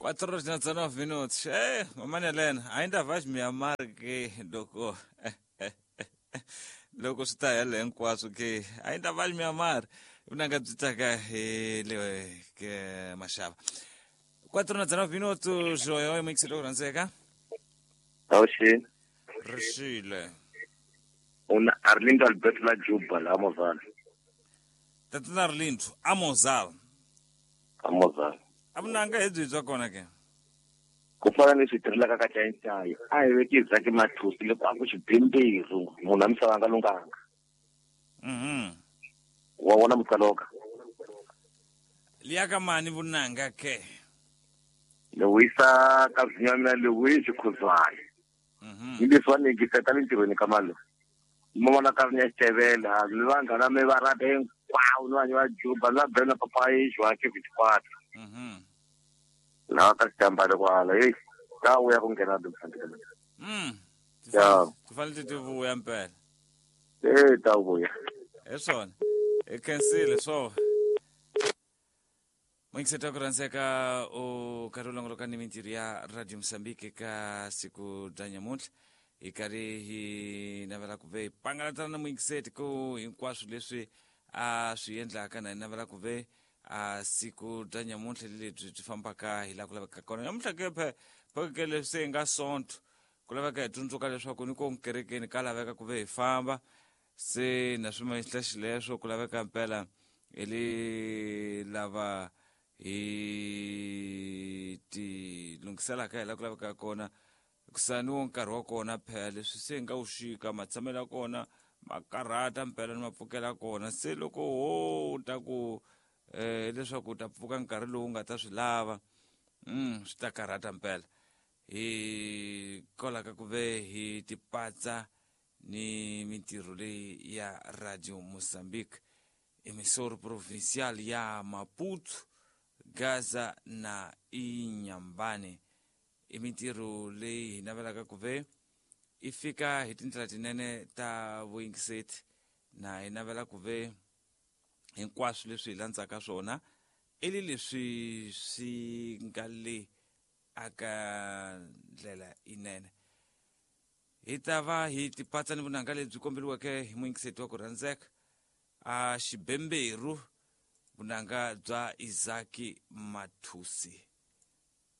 4 horas na 19 minutos. É, mamãe Helena, ainda vais me amar que loko loko swi ta hela hinkwaswo ke ainda vais me amar vunanga byi taka hi le ke maxava 4 na 19 minutos oyo mixi loku rhandzeka Awuxini. Rixile. Una Arlindo Alberto la Juba la Mozala. Tatana Arlindo Amozala. Amozala. A vunanga hi byi bya kona ke? Ku fana ni swi tirhelaka ka Chayinchayi, a hi veki Zaki Mathusi loko a ku xibimbiru munhu a misava a nga lunghanga. Wa vona mutsaloka. Liya ka mani vunanga ke? Ni wisa ka vhinya mina Lewis Khuzwayo. Ni leswi va ni yingiseta le ntirhweni ka malo. Ni vona ka rinya xitevela, ni vanghana mi va rata hinkwawo, ni vanhu va Juba, ni va Bena Papa Joaquim 24. Laha ka xitambale kwala, hey, ta vuya ku nghena Mozambique. Ya. Ti fanele ti vuya mpela. Eh, ta vuya. Hi swona. Hi khensile swo. Mwingiseta ku rhandzeka u karhi u longoloka ni mintirho ya Radio Mozambique ka siku bya nyamuntlha hi karhi hi navela ku ve hi pangalatana na muyingiseti ku hinkwaswo leswi a swi endlaka na hi navela ku ve a siku bya nyamuntlha lebyi byi fambaka hi laha ku lavekaka kona nyamuntlha ke phe pheke leswi se hi nga sonto ku laveka hi tsundzuka leswaku ni ko kerekeni ka laveka ku ve hi famba se na swi mahla xileswo ku laveka mpela hi le lava hi ti lunghiselaka hi laha ku lavekaka kona kusani wo nkarhi wa kona phela leswi se hi nga wu xika matshamelo ya kona ma karhata mpela ni mapfukela kona se loko ho ta ku leswaku u ta pfuka nkarhi lowu nga ta swi lava swi ta karhata mpela hi kolaka ku ve hi tipatsa ni mintirho leyi ya Radio Mozambique emissora provincial ya Maputo Gaza na Inhambane i mintirho leyi hi navelaka ku ve i fika hi tindlela tinene ta vuyingiseti na hi navela ku ve hinkwaswo leswi hi landzaka swona i li leswi swi nga le aka ndlela yinene hi ta va hi tipatsa ni vunanga lebyi komberiweke hi muyingiseti wa ku rhandzeka a xibemberu vunanga bya Isaki Mathusi.